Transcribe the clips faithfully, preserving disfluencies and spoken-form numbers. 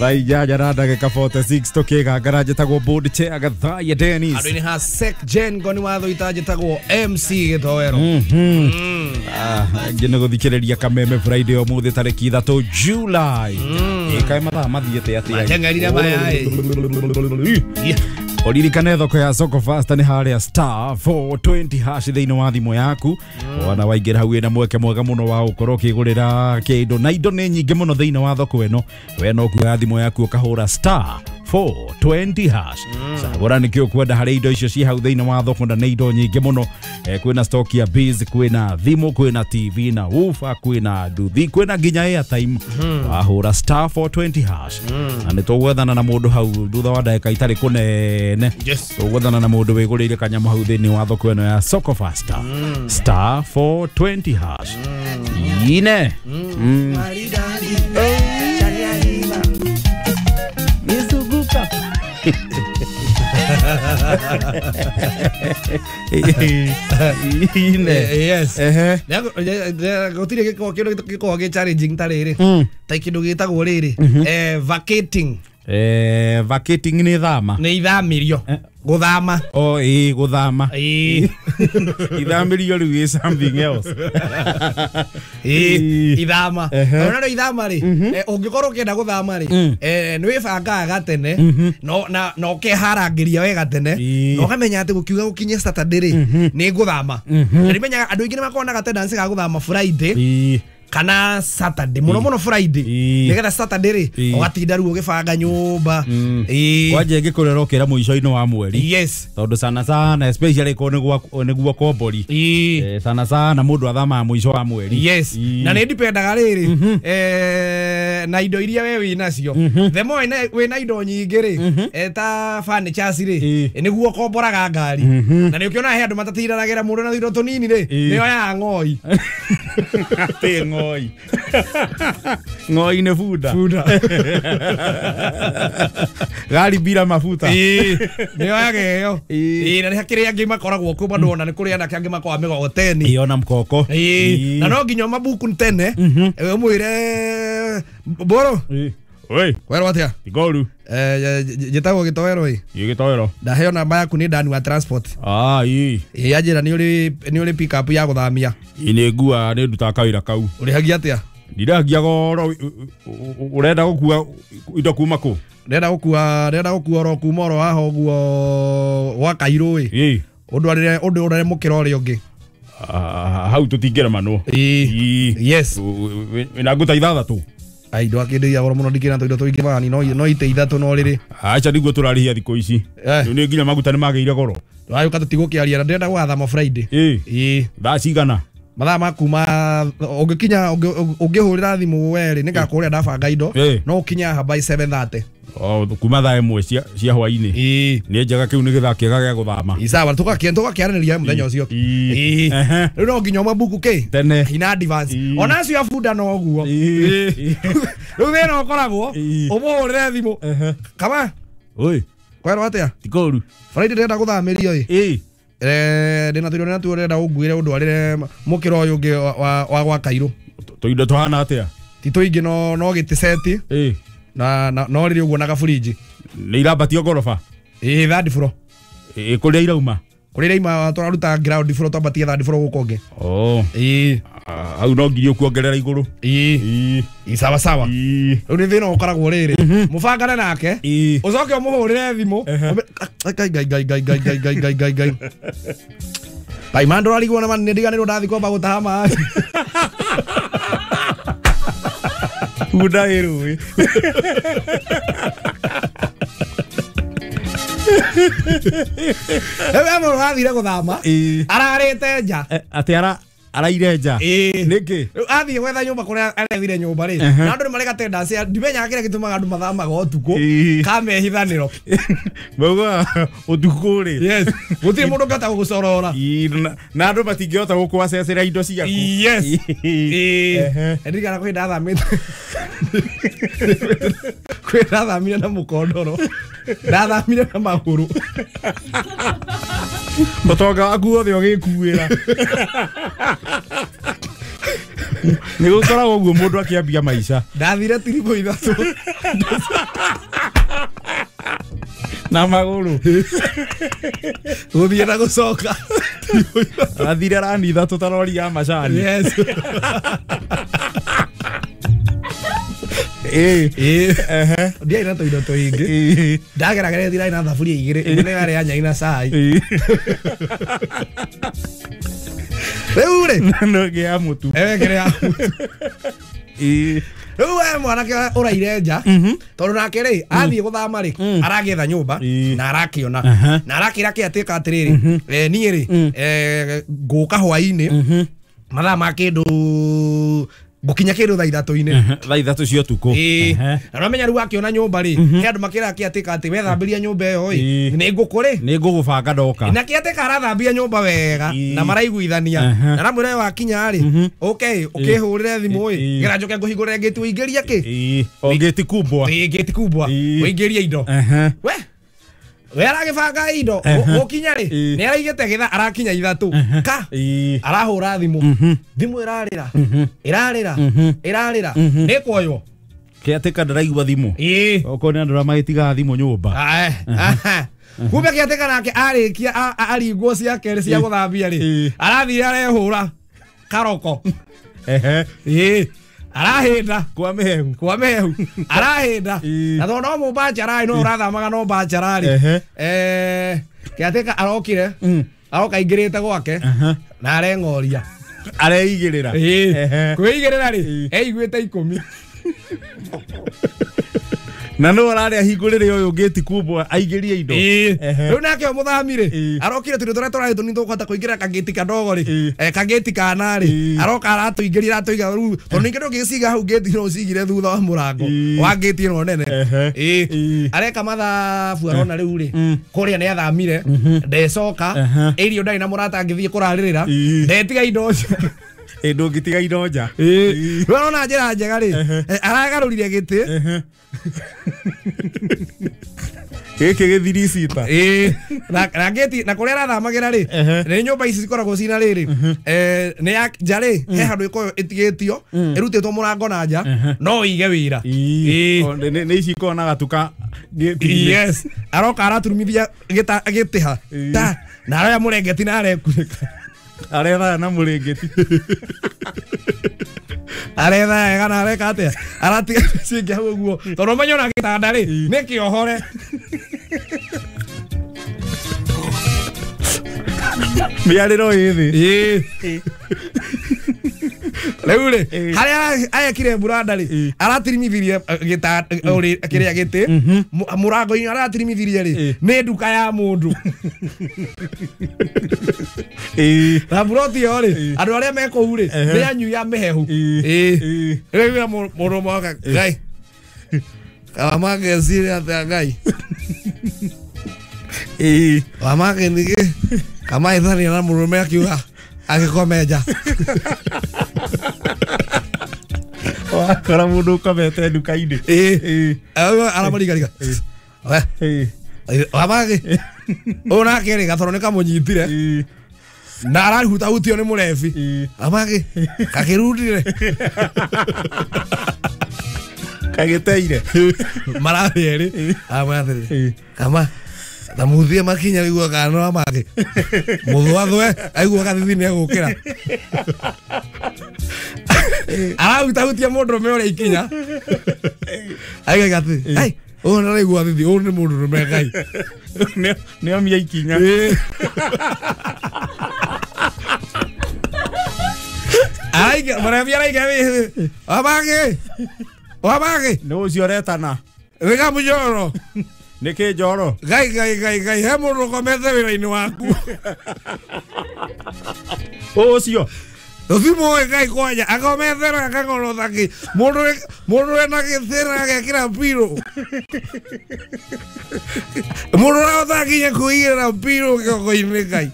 Thaa inyanya na ndagĩka forty-six tũkĩgangara njĩtagwo board chair Gathaiya Dennis. Andũ-inĩ ha Sec Gen Ngoni watho itanjĩtagwo M C Gĩtoero. Ngĩ nĩ gũthikĩrĩria Kameme Friday ũmũthĩ tarĩki ithatũ July. Ĩkae mathaa mathiĩte atĩa? Mateng'erire maya ĩ. Ũririkane thoko ya Soko Fast nĩ harĩa star four twenty hash thĩinĩ wa thimũ yaku. Wana waingĩra hau wĩna mweke mwega mũno wa gũkorwo ũkĩgũrĩra kĩndũ na indo nĩ nyingĩ mũno thĩinĩ wa thoko ĩno. We no kuoya thimũ yaku ũkahũra star four twenty hash. Cagũra nĩkĩ ũkwenda harĩ indo icio ci hau thĩinĩ wa thoko na nĩ indo nyingĩ mũno. Kwĩna stock ya biz, kwĩna thimũ, kwĩna T V na woofer, kwĩna nduthi, kwĩna nginya airtime. Wahũra star four twenty hash. Na nĩ tũgwethana na mũndũ hau thutha wa ndagĩka itarĩ kũnene. Tũgwethana na mũndũ wĩgũrĩire kanyamũ hau thĩinĩ wa thoko ĩno ya Soko Fast. Star four twenty hash. Ine. Yes. Gũtirĩ gĩkoragwo kĩndũ gĩkoragwo gĩ challenging ta rĩrĩ. Ta kĩndũ gĩtagwo rĩrĩ. Eh vacating. Eh vacating nĩ thama. Nĩ ithamĩrio. Gũthama. Oh ĩĩ gũthama. Ĩĩ. Ithamĩrio rĩu is something else. Ĩĩ ithama. Ona rĩu ithama rĩ, ũngĩkorwo ũkĩenda gũthama rĩ, eh nĩ wĩbangaga gatene no na na ũkeharangĩria wega tene na ũkamenya atĩ gũkiuga gũkinye Saturday rĩ nĩ ngũthama. Na nĩmenyaga andũ aingĩ nĩ makoragwo na gatendency ga gũthama Friday kana Saturday muno muno Friday nigetha Saturday ri ugatinda ruo ugibanga nyumba. Kwanja ingĩkũrera ũkĩra mũico-inĩ wa mweri. Yes, tondu sana sana especially ko nĩguo nĩguo kombori sana sana mũndũ athamaga mũico wa mweri. Yes, na nĩ ndipendaga rĩrĩ eh na indo iria we wĩ nacio the more wĩ na indo nyingĩ rĩ ta furnitures rĩ nĩguo komboraga ngari na nĩ ũkĩona he andũ matatindanagĩra mũndũ na indo tũnini rĩ nĩyo ya ng'oi. Atĩ ng'oi. Ng'oi nĩ bunda. Bunda. Gari bila mafuta. Ĩĩ nĩyo yageo. Ĩĩ na nĩ hakĩrĩ angĩ makoragwo kũ bado ona nĩ kũrĩ anake angĩ makoragwo mĩgogoteni. Ĩĩ ona mkoko. Ĩĩ na no nginya mabuku tene ũmwĩre mboro. Ĩĩ. Oi. Werwo atĩa? Igoru. Eh njĩtagwo Gĩtoero ĩ. Ĩ Gĩtoero. Ndaheo namba yaku nĩ Dani wa transport. Ah ĩ. Ĩ anjĩra nĩ ũrĩ nĩ ũrĩ pick up ya gũthamia. Ĩ nĩ ngua nĩ ndutaga kawĩra kau. Ũrĩhagia atĩa? Ndirahagia goro ũrenda gũkua indo kuma kũ? Ndĩrenda gũkua ndĩrenda gũkua oro kuma oro haha ũguo gwa Kairũ ĩ. Ĩ. Ũndwarĩre ũndwarĩre mũkĩra ũrĩa ũngĩ. Hau tũtingĩremanwo. Ĩ. Yes. Wĩna nguta ithathatũ. Ai ndo akĩndeithia goro mũno ndikĩna tũindo tũingĩ mani no no ite ithatũ no rĩrĩ. Acha niguo tũrarĩhia thikũ ici. Nĩ nginya maguta nĩ magĩire goro. Twagĩũka tũtigũkĩaria na ndĩrenda gũgathama Friday. Ĩ. Ĩ. Thaa cigana? Mathaa ma kuma ũngĩkinya ũngĩhũrĩra thimũ we rĩ nĩngakũrĩa ndabanga indo no ũkinye haha by seven thirty. Oh kuma thaa ĩmwe cia cia hwainĩ. Ĩ. Nĩ njega kĩu nĩ gĩthaa kĩega gĩa gũthama. Ĩ sawa tũgakĩa tũgakĩaranĩria mũthenya ũcio. Ĩ. Rĩu no nginya ũmabuku kĩ? Tene. In advance. Ona acio a bunda no ũguo. Rĩu thĩna ũkoragwo ũmũhũrĩre thimũ. Kama? Oi. Kwerwo atĩa? Ti kũũru. Friday ndĩrenda gũthamĩrio ĩ. Ĩ. Eh ndĩna tũindo natuo ndĩrenda ũnguĩre ũndwarĩre mũkĩra ũyũ ũngĩ wa wa gwa Kairũ. Tũindo tũhana atĩa? Ti tũingĩ no no gĩtĩ seti. Ĩ. Na no rĩrĩ ũguo na gaburinji. Nĩ irambatio ngoroba? Ĩ third floor. Ĩ kũrĩa irauma? Kũrĩa irauma tũraruta ground floor twambatie third floor gũkũ ũngĩ. Oh. Ĩ. Hau no nginya ũkuongerera igũrũ. Ĩ. Ĩ. Ĩ sawa sawa. Ĩ. Rĩu nĩ thĩna ũkoragwo rĩrĩ. Mũbangane nake. Ĩ. Ũcoke ũmũhũrĩre thimũ. Ngai ngai ngai ngai ngai ngai ngai ngai ngai ngai. Pai man ndũrarigwo na nĩ ndiganĩrwo ndathiĩ kwamba gũtaha maĩ. Bunda ĩ rũĩ. Rĩu mũndũ athire gũthama ararĩte nja. Atĩ ara araire nja. Nĩkĩ? Rĩu athiĩ gwetha nyũmba kũrĩa arethire nyũmba rĩ na andũ nĩ marĩ gatendency ndimenyaga kĩrĩa gĩtũmaga andũ mathamaga ũtukũ ka mehithanĩro. Mauga ũtukũ rĩ. Yes. Gũtirĩ mũndũ ũngĩhota gũgũcorora. Na andũ matingĩhota gũkũacecera indo ciaku. Yes. Ĩ. Ndirikana kwĩ ndathamĩte. Kwĩ ndathamire na mũkondoro. Ndathamire na magũrũ. Mũtonga waku wothe ũgĩkuĩra. Nĩ gũkoragwo ũguo mũndũ akĩambia maica. Ndathire tiribũ ithatũ na magũrũ. Gũthiĩ na gũcoka. Athire rani ithatũ ta rori ya macani. Yes. Eh. Eh. Ndiarĩ na tũindo tũingĩ. Ndageragera thirarĩ na thaburia igĩrĩ. Ĩmwe nĩ yarĩ ya nyai na cai. Rĩu rĩ no ĩngĩ ya mũtu. Ĩyo ĩngĩ ya mũtu. Ĩĩ. Rĩu we mwanake ũraire nja tondũ nake rĩ athiĩ gũthama rĩ aragĩetha nyũmba na arakĩona na arakĩra kĩatĩka atĩrĩrĩ niĩ rĩ ngũka hwaĩ-inĩ mathaa ma kĩndũ ngũkinya kĩndũ thaa ithatũ-inĩ thaa ithatũ cia ũtukũ. Na ũramenya rĩu akĩona nyũmba rĩ he andũ makĩraga kĩatĩka atĩ wethambĩria nyũmba ĩyo ĩ nĩ ngũkũ rĩ nĩ ngũgũbanga ndoka. Na kĩatĩka arathambia nyũmba wega na maraiguithania na aramwĩra wakinya rĩ ũke ũkĩhũrĩre thimũ ĩ gera njoke ngũhingũrĩre ngĩti ũingĩrie kĩ o ngĩti kubwa ĩ ngĩti kubwa ũingĩrie indo we we aragĩbanga indo gũkinya rĩ nĩ araigĩte gĩthaa arakinya ithatũ ka arahũra thimũ thimũ ĩrarĩra ĩrarĩra ĩrarĩra nĩ kuoywo kĩatĩka ndaraigua thimũ ĩĩ okorwo nĩ andũ arĩa magĩtigaga thimũ nyũmba. Kumbe kĩatĩka nake arĩkia aringwo ciake rĩ cia gũthambia rĩ arathire arehũra karoko ĩĩ arahĩnda kwa mĩhehu kwa mĩhehu arahĩnda na tondũ no mũbachararĩ no ũrathamaga no bachararĩ eh kĩatĩka arokire aroka aingĩrĩte gwake na areng'oria areigĩrĩra ĩĩ kwĩigĩrĩra rĩ eiguĩte ikũmi na no ararĩ ahingũrĩre ũyũ ngĩti kubwa aingĩrie indo. Rĩu nake o mũthami rĩ arokire tũindo tũrĩa tũrarĩ tũnini tũkũhota kũingĩra kangĩti kadogo rĩ kangĩti kana rĩ aroka aratũingĩria aratũiga rĩu tondũ ningĩ ndũngĩciga hau ngĩti no ũcigire thutha wa mũrango wa ngĩti ĩno nene. Ĩĩ areka mathabu arona rĩu rĩ kũrĩa nĩ athamire ndecoka ĩrio ndarĩ na mũrata angĩthiĩ kũrarĩrĩra ndetiga indo ĩ ndũngĩtiga indo nja. Ĩĩ rĩu arona njĩra njega rĩ aragarũrire gĩtĩ gĩkĩ gĩthiri cita ĩĩ na ngĩti na kũrĩa arathamagĩra rĩ nĩ nyũmba ici cikoragwo cina rĩrĩ nĩ ya nja rĩ he handũ ĩkoragwo ĩtigĩtio ĩrutĩtwo mũrango na nja no ĩige wĩra. Ĩĩ nĩ ici ikoragwo na gatuka. Yes aroka araturumithia gĩtĩ ha ta na aroya mũrengeti na arekunĩka aretha na mũrengeti aretha wega na areka atĩa aratiga ciingĩ hau ũguo tondũ ũmenye ona gĩtanda rĩ nĩ kĩohore mĩarĩro ĩ thĩ. Ĩĩ rĩu rĩ harĩa arekire mburanda rĩ aratirimithirie kĩrĩa gĩtĩ mũrango-inĩ aratirimithirie rĩ nĩ nduka ya mũndũ. Na mburoti ĩyo rĩ andũ arĩa me kũu rĩ nĩ anyui a mĩhehu. Ĩĩ rĩu mũndũ ũmwe oka Ngai karamagecire atĩa Ngai ĩĩ wamage nĩkĩ kamaithania na mũrũme akiuga agĩkomenja wakora mũndũ ũkomete nduka-inĩ. Ĩĩ aramũrigariga we wamage ũyũ nake rĩ gatoro nĩ kamũnyitire na arahutahutio nĩ mũrebi amage kakĩrundire kagĩteire marathiĩ erĩ aramwĩra atĩrĩrĩ kama tamuthie makinya aigua kana no amage mũthwathwe aigua gathithi nĩ egũkĩra arahutahutia mũndũrũme ũrĩa ikinya aigaga atĩ ai ũyũ ndaraigua thithi ũyũ nĩ mũndũrũme Ngai nĩomia ikinya. Araiga mũrebi araiga wamage wamage nĩ ũcio ũretana wĩga mũnyoro nĩkĩ njoro Ngai Ngai Ngai Ngai he mũndũ ũkomete wĩra-inĩ waku ũcio Tũtimũĩ Ngai kwanja akomete na akang'orota kĩ mũndũ mũndũ wĩna gĩthĩra agekĩra mpirũ mũndũ ũrahota nginya kũigĩrĩra mpirũ kĩongo-inĩ Ngai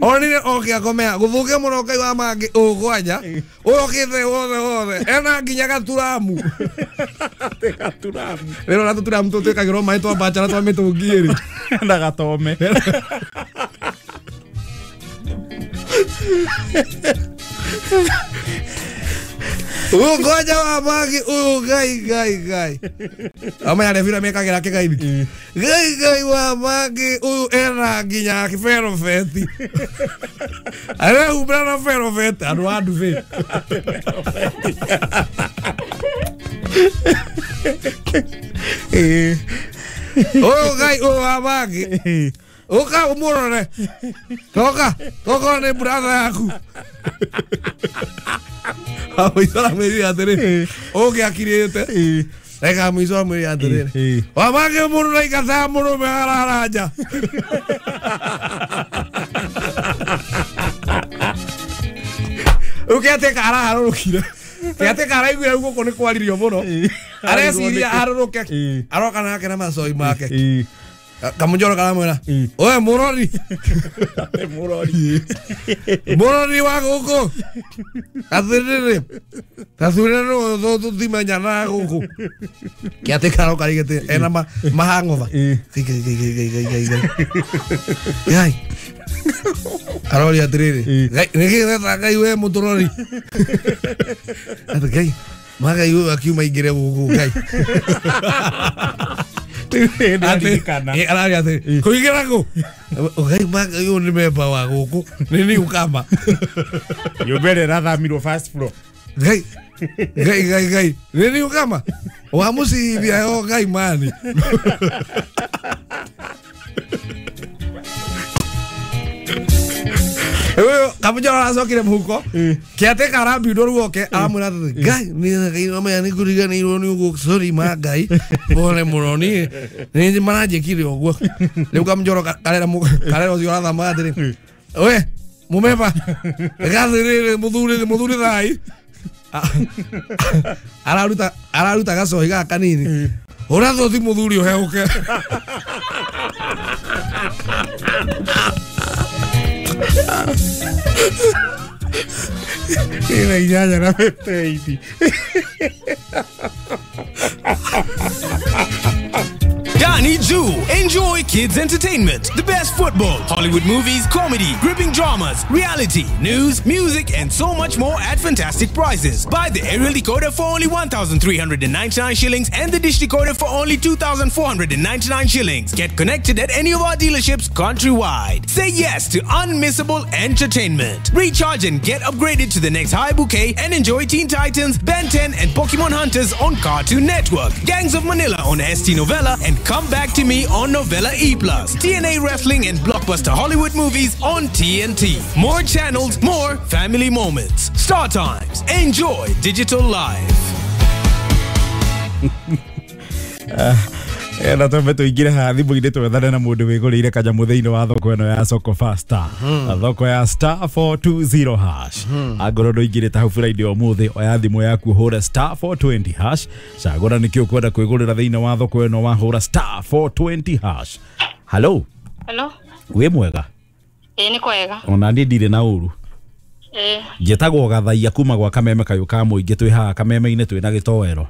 onire oke akomea gũthũkia mũno Ngai wa mangĩ ũũ kwanja ũyũ okĩte wothe wothe ena nginya gaturamu gaturamu rĩrĩa ona tũturamu tũu twĩkagĩrwo maĩ twa bachara twa mĩtũngi ĩrĩ na gatome Ugoja wa magi uyu ngai ngai ngai. Amenya revira mekagira kigaithi. Ngai ngai wa magi uyu ena nginya ferofeti. Arehumbĩra na ferofeti andũ a ndube. Eh. Uyu ngai uyu wa magi. Uka umurore. Toka, toka nĩ brother yaku. Mũico aramwĩrire atĩrĩrĩ ũngĩakirĩte reka mũico amwĩrire atĩrĩrĩ wamage mũndũ naikataga mũrũme arara nja. Rĩu kĩatĩka araharũrũkire kĩatĩka araiguire rĩu gũkũ nĩ kwaririo mũno areciria harũrũke aroka nake na macoi make kamũnjoro karamwĩra oe mũrori mũrori mũrori wa gũkũ atĩrĩrĩ tathure no tũtimenyanaga gũkũ kĩatĩka aroka rigĩte ena mahang'otha ngai aroria atĩrĩrĩ nĩkĩ weta ngai we mũtũrori atĩ ngai magai ũyũ akiuma aingĩre gũkũ ngai araria atĩrĩ kũingĩra kũ ngai magai ũyũ nĩ memba wa gũkũ nĩ nĩũkama nyũmba ĩrĩa ĩrathamirwo first floor ngai ngai ngai ngai nĩ nĩũkama wa mũcibia yo ngai mani kamũnjoro aracokire mũhuko kĩatĩka arambindwo rĩu oke aramwĩra atĩrĩ ngai nĩ ngai nĩ ngũriganĩirwo nĩ ũguo sorry ma ngai pole mũno niĩ nĩ maranjĩkire ũguo rĩu kamũnjoro karera karera ũcio arathamaga atĩrĩ we mũmeba gathĩrĩrĩ mũthuri mũthuri thai araruta araruta gacohi gaka kanini hũra thothi mũthuri ũhehũke. Ina inyanya na fifty-eight. Danny Jew. Enjoy kids entertainment, the best football, Hollywood movies, comedy, gripping dramas, reality, news, music, and so much more at fantastic prices. Buy the aerial decoder for only one thousand three hundred ninety-nine shillings and the dish decoder for only two thousand four hundred ninety-nine shillings. Get connected at any of our dealerships countrywide. Say yes to unmissable entertainment. Recharge and get upgraded to the next high bouquet and enjoy Teen Titans, Ben ten, and Pokemon Hunters on Cartoon Network, Gangs of Manila on S T Novella, and Come Back to Me on Novella E plus. T N A Wrestling and Blockbuster Hollywood movies on T N T. More channels, more family moments. Star Times. Enjoy digital life. Na twambe tuingire haha thimũ-inĩ twethane na mũndũ wĩgũrĩire kanyamũ thĩinĩ wa thoko ĩno ya Soko Fasta, thoko ya star four two zero hash. Angorwo ndũingĩrĩte hau Friday ũmũthĩ, oya thimũ yaku ũhũre star four twenty hash. Cagũra nĩkĩ ũkwenda kwĩgũrĩra thĩinĩ wa thoko ĩno wahũra star four twenty hash. Hello. Hello. Wĩ mwega? Ĩĩ nĩ kwega. Ona niĩ ndirĩ na ũru. Ĩĩ. Njĩtagwo Gathaia kuma gwa Kameme kayũ ka mũingĩ, twĩ haha Kameme-inĩ twĩna gĩtoero.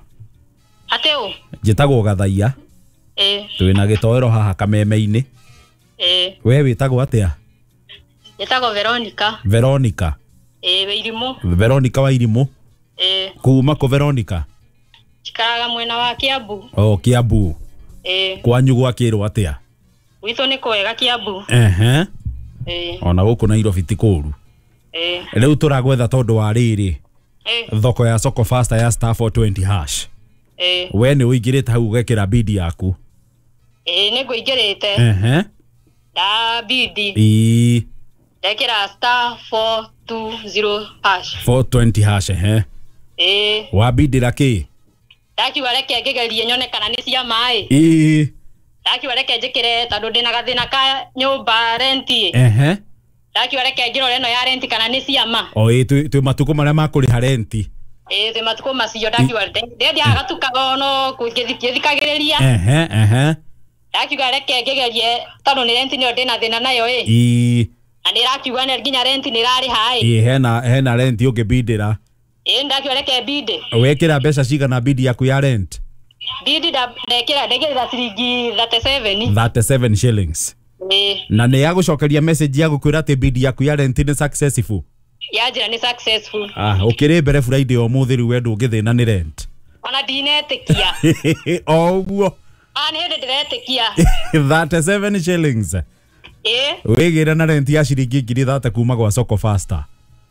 Atĩ ũ? Njĩtagwo Gathaia. Ĩĩ. Twĩna gĩtoero haha Kameme-inĩ. Ĩĩ. We wĩtagwo atĩa? Njĩtagwo Veronica. Veronica. Ĩĩ, Wairimũ. Veronica Wairimũ. Ĩĩ. Kuma kũ Veronica? Njikaraga mwena wa Kiambu. Oh, Kiambu. Ĩĩ. Kwanyu gwakĩrwo atĩa? Gwitũ nĩ kwega Kiambu. Ehe. Ĩĩ. Ona gũkũ Nairobi ti kũũru. Ĩĩ. Rĩu tũragwetha tondũ wa rĩrĩ. Ĩĩ. Thoko ya Soko Fasta ya star four twenty hash. Ĩĩ. We nĩ ũingĩrĩte hau ũgekĩra bidi yaku? Ĩĩ, nĩ ngũingĩrĩte. Ehe. Nda bidi. Ĩĩ. Ndekĩra star four two zero hash. four twenty hash, ehe. Ĩĩ. Wabindĩra kĩ? Ndakiuga reke ngĩgerie nyone kana nĩ cia maĩ. Ĩĩ. Ndakiuga reke njĩkĩre tondũ ndĩna gathĩna ka nyũmba renti. Ehe. Ndakiuga reke ngĩrore ĩno ya renti kana nĩ cia ma. O ĩĩ, twĩ matukũ marĩa ma kũrĩha renti. Ĩĩ, twĩ matukũ macio ndakiuga ndethiaga gatuka no ngĩthikagĩrĩria. Ehe, ehe. Ndakiuga reke ngĩgerie tondũ nĩ renti nĩyo ndĩna thĩna nayo ĩ. Ĩĩ. Na nĩrakiuga nginya renti nĩrarĩha ĩ. Ĩĩ, hena hena renti ũngĩbindĩra. Ĩĩ, ndakiuga reke mbinde. Wekĩra mbeca cigana bidi yaku ya rent? Bidi ndekĩra ndekĩra ciringi thirty-seven. thirty-seven shillings. Ĩĩ. Na nĩ yagũcokeria message ya gũkwĩra atĩ bidi yaku ya rent nĩ successful? Yanjĩra nĩ successful. Ah, ũkĩrĩ mbere Friday ũmũthĩ rĩu we ndũngĩthĩna nĩ rent. Ona ndinetĩkia. O ũguo. Ah, nĩ hĩndĩ ndĩretĩkia. thirty-seven shillings. Ĩĩ. Wĩgĩre na rent ya ciringi ngiri thate kuma gwa Soko Faster.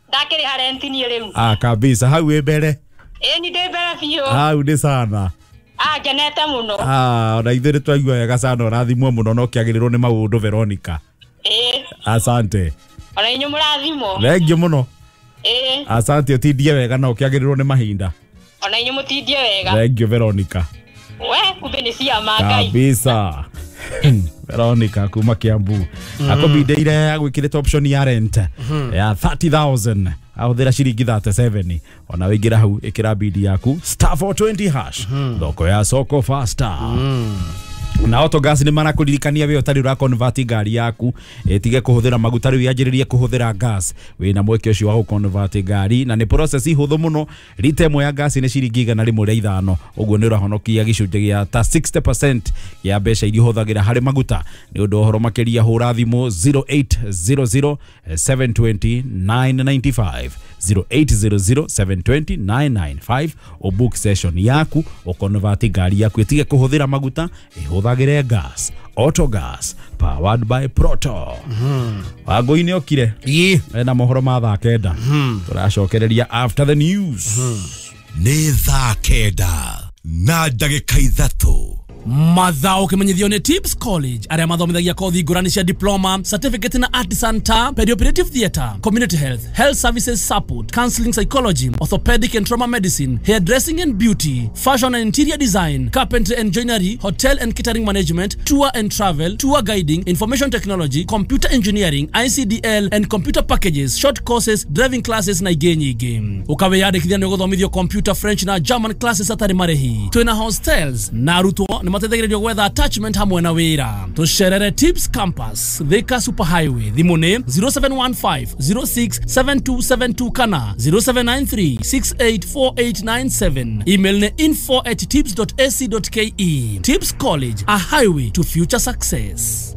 Ndakĩrĩha rent niĩ rĩu. Ah, kabisa hau wĩ mbere. Ĩĩ ni ndĩ mbere biũ. Hau nĩ sana. Ah, ngenete mũno. Ah, ona ithuĩ nĩtwaigua wega sana, ũrathimwo mũno na ũkĩagĩrĩrwo nĩ maũndũ Veronica. Ĩĩ. Asante. Ona inyuĩ mũrathimwo. Thengiũ mũno. Ĩĩ. Asante, ũtindie wega na ũkĩagĩrĩrwo nĩ mahinda. Ona inyuĩ mũtindie wega. Thengiũ Veronica. We, kumbe nĩ ciama Ngai. Kabisa. Veronica kuma Kiambu. Akũbindeire agwĩkĩrĩte option ya rent ya thirty thousand. Ahũthĩra ciringi thirty-seven. Ona wĩingĩra hau ĩkĩra bidi yaku star four twenty hash. Thoko ya Soko Faster. Na Autogas nĩ marakũririkania we ũtarĩ ũraconvert ngari yaku ĩtige kũhũthĩra maguta rĩu yanjĩrĩrie kũhũthĩra gas. Wĩna mweke ũcio wa gũconvert ngari na nĩ process hũthũ mũno. Rita ĩmwe ya gas nĩ ciringi igana rĩmwe rĩa ithano, ũguo nĩ ũrahonokia gĩcunjĩ gĩa ta sixty percent ya mbeca iria ũhũthagĩra harĩ maguta. Nĩ ũndũ ũhoro makĩria hũra thimũ zero eight zero zero seven two zero nine nine five, zero eight zero zero seven two zero nine nine five, ũbook session yaku ũconvert ngari yaku ĩtige kũhũthĩra maguta ĩhũthagĩre gas. Autogas powered by Proto. Wangũi okire Ĩĩ. ena mohoro ma thaa kenda, tũracokereria after the news. Nĩ thaa kenda na ndagĩka ithatũ. Mathao kimenyithio nĩ Tips College arĩa mathomithagia kothi ngũrani cia diploma, certificate na artisan ta perioperative theatre, community health, health services support, counseling psychology, orthopedic and trauma medicine, hairdressing and beauty, fashion and interior design, carpentry and joinery, hotel and catering management, tour and travel, tour guiding, information technology, computer engineering, I C D L and computer packages, short courses, driving classes na ingĩ nyingĩ. Ũkawĩyandĩkithia nĩ ũgũthomithio computer, French na German classes atarĩ marĩhi. Twĩna hostels na arutwo nĩ mateithagĩrĩrio gwetha attachment hamwe na wĩra. Tũcerere Tips Campus, Thika Super Highway. Thimũ nĩ zero seven one five zero six seven two seven two kana zero seven nine three six eight four eight nine seven. Email nĩ info at tips dot a c dot k e. Tips College, a highway to future success.